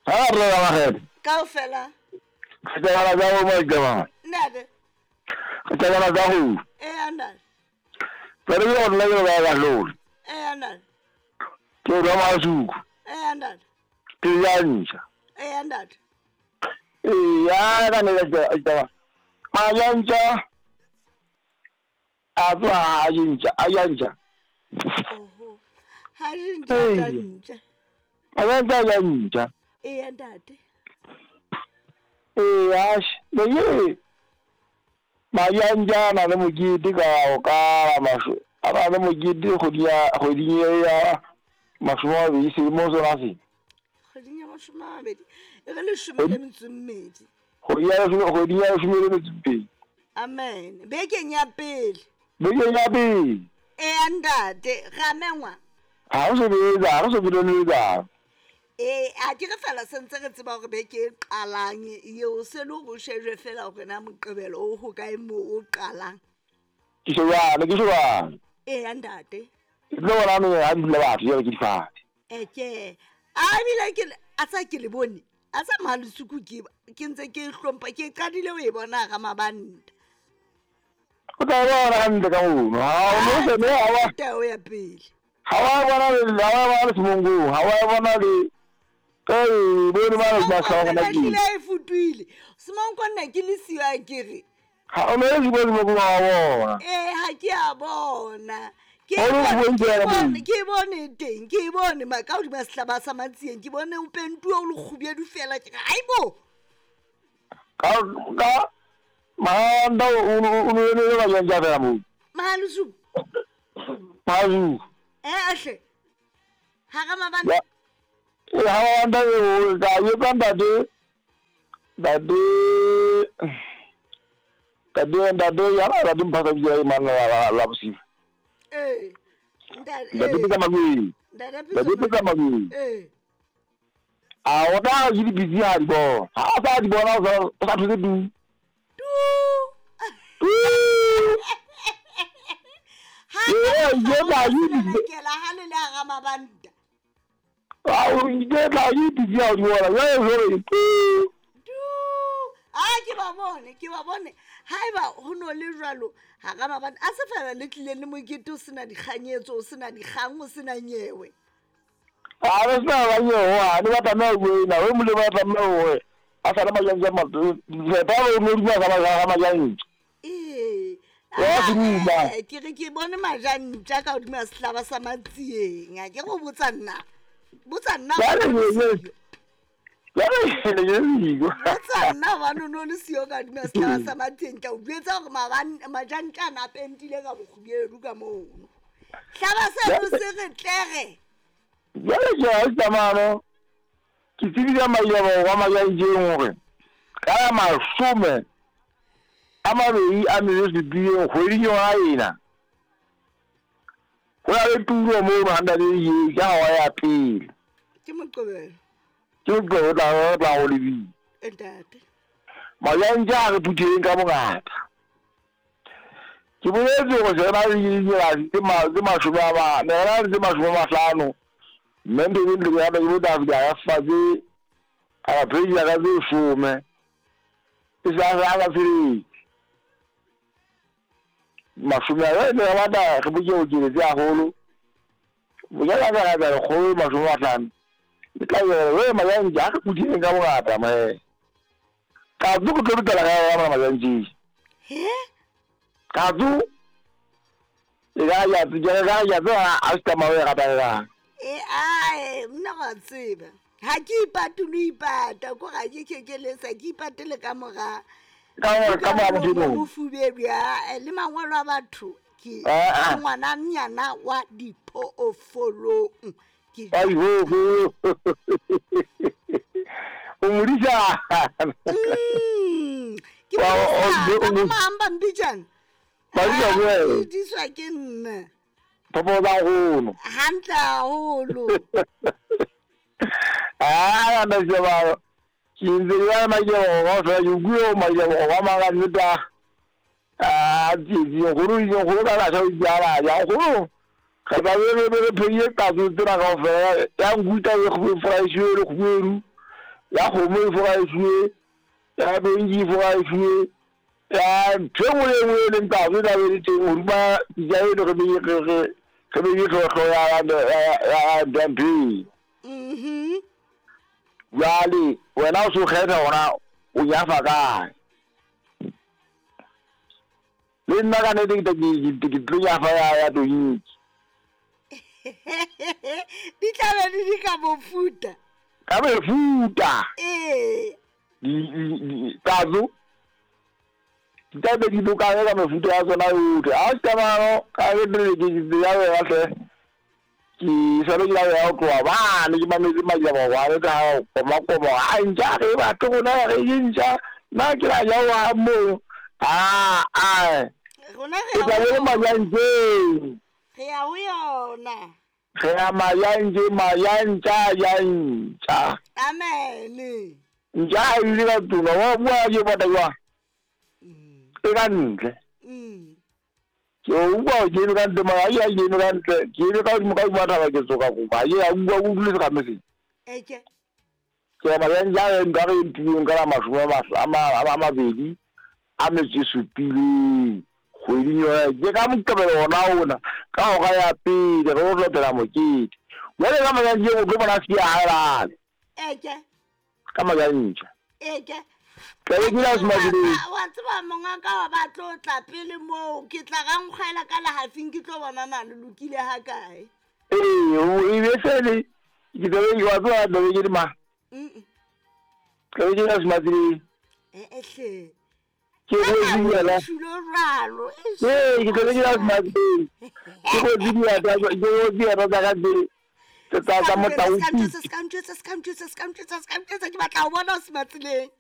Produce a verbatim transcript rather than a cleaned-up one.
Ha re la magede. Kaofela. Ke tla ba go mo jama. Ntate. Ke tla ba go. Eh ntate. Pero yo no le ba ga lol. Eh ntate. Ke ba ma suku. Eh ntate. Ke ya ntša. Eh ntate. Eh ya ka ne ka tla. Ma ya ntša. A tla a ntša, a ya ntša. Oho. Ha re ntša ntša. A ya ntša ya ntša. Eh ntate. Eh ash, le ye. Ma ya ntša na le mokete ka o ka masho. A ba le mokete kgwedi ya kgweding ya mashome a mabedi selemo sona se. Kgweding ya mashome a mabedi. E re leshome le metso e mmedi. Kgwedi ya leshome kgwedi ya leshome le metso e mmedi. Amen. Bekeng ya pele. Bekeng ya pele. Eh ntate, ra mengwa. Ha o se betsa, ha o se betsa. Eh, a ke re fela sentse re tseba hore beke e qalang eo se le hore o shejwe fela hore na Moqebelo o ho kae moo o qalang. Ke shebane, ke shebane. Eh ntate. Ke tlo bona me ha di dula batho jwale ke difate. Eh ke. A ebile ke a tsa ke le bone. A tsa Malusuku ke ke ntse ke hlompha ke qadile ho e bona ga mabanta. O tla bona hantle ka mono. Ha o no se me ha wa. Tao ya pele. Ha wa bona le ha wa bona le semongo, ha wa bona le eh bone ba le ba sa gona ke. Ke e futuile. Semongo nna ke le siwa ke re. Ha o no le semongo wa bona. Eh ha ke a bona. Ke bone ke bone teng, ke bone ma ka hodima sehlaba sa Matsieng, ke bone o pentuwa o le kgubedu fela ke re aibo. Ka ka manda o o le ba jang ja fela mo. Malusu. Malusu. Eh ahle. Ha ga mabanta. Eh ha mabanta o ka ye ka ntate. Ntate. Ntate ntate ya la di mpha ka ya mana la la bosiu. Eh. Ntate. Ntate ka magwe. Ntate ka magwe. Eh. A o da ji di busy ha di bo. Ha sa di bona o sa thuse du. Du. Du. Ha ye ba yi ke la ha le la ga mabanta. A o ke la yi di ya di bona. Ye hore du. Du. A ke ba bone, ke ba bone. Haeba ho no le jwalo ha ga mabanta a se fela le tlile le mokete o sena dikganyetso, o sena dikgang, o sena nyewe. A re sena ba nyewe, ha ne ba tlameha ho ena, o mole ba tlameha ho a sa le majang ja matlo. Ba ba no di ba ba ga majang. Eh. Ke re ke bone majantja ka hodima sehlaba sa Matsieng. A ke go botsa nna. Botsa nna. Botsa nna ba no no le siyo ka hodima sehlaba sa Matsieng. Ka o jwetsa hore majantja a pentile ka bokgubedu ka mono. Hlaba seno se re tlere. Jwale ke a tsamano. Ke tsebile maemo wa majantjeng hore ka mashome a mabedi a metso supileng kgweding yona ena. Ho na le tulo moo ntate ye ka hora ya pele. Ke Moqebelo. Ke Moqebelo tla tla ho lebile. Ntate. Majantja a re phutheng ka bongata. Ke boletse hore se na le ditsela tse mashome a mane, re na le tse mashome a mahlano. Mme ntho e ntle ya ke botsa ya fatshe a pheja ka tse shome. E sa sa ka tsele. Mashome a ne ba da re botse o tse haholo. Bojala ka ga re kgolo mashome a mahlano. Ke tla re majantja a re phutheng ka bongata me. Ka tlo go tlo tla ga ya majantja. He? Ka tlo e ga ya tse ga ya tse a se tsamaya ga ba. E ae nna wa tseba. Ha ke ipate lo ipata ko ga ke kekelesa ke ipatele ka mora. Ka ka mora modimo. Bofubedu ya le mangwalo a batho ke ngwana nyana wa diphoofolong. Ke ai ho ho. O modisa. Mm. Ke ba mamba mbijana. Ba di ba. Diswa ke nna. Popo ba haholo. Hantle haholo. Ah, na se ba. Ke ntse ya majebo go fela ke bua majebo go manga nneta. Ah, di di go ro go ka la sa ja ya go. Ga ba re re re pheye ka tsena ka fela ya nkuta e go fresh le go. Ya kgomo e foraisiwe, ya benki e foraisiwe, ya ntho e nngwe le e nngwe e leng tatso e tla be le teng hodima pitsa eno re beile re re re beile hlooho ya ya ya ya ya ntho eo. Mhm. Jwale wena o so kgetha hore o nyafa kae. Le nna ka nnete ke ke ke tlo nyafa ya ya tonki. Di tla be di di ka mofuta. Ka mefuta. Ee. Di di di tatso di tla be di lokane ka mefuta ya tsona yohle. Ha se ka ke ke ke ya wena hle. Ke sale ke ya ho tloha bane ke mametse majabakwane ka koma koma a ntja re batle rona re je ntja nna ke la ja wa moo a a Rona re ke ya tla ho be le yona. majantjeng. Re ya ho yona. Re ya majantjeng majantja ja ntja. Amen. Ntja ha e dule ka tlung wa bua ke bota jwang? Mm. E ka ntle. Mm. Ke o utlwa ke eme ka ntle mara ha ke eme ka ntle ke eme ka hodimo ka hodima thaba ke tsoka kopa ha ke a utlwa o dule serame sena. Eke. Ke ya majantja a nka re ntuleng ka la mashome a ma a mabedi a metso e supileng kgweding yona ke ka Moqebelo ona ona ka hora ya pele re lo latela mokete. Jwale ka majantjeng o tlo bona se ya Eke. ka majantja. Eke. Tla be ke la Semasileng. Wa tseba mongaka wa ba tlo tla pele moo ke tla ga nkgwela ka lehafing ke tlo bona na le lokile ha kae. Ee, e be sele ke tla be wa tseba tla be ke le mang? Mm. Tla be ke la Semasileng. Eh eh hle. Ke go yena. Tshilo jwalo. Ee, ke tla be ke la Semasileng. Ke go diata ke go diata tsa ka tse tsa tsa motau. Ska ntjwetsa ska ntjwetsa ska ntjwetsa ska ntjwetsa ska ntjwetsa ke batla ho bona o Sematsileng.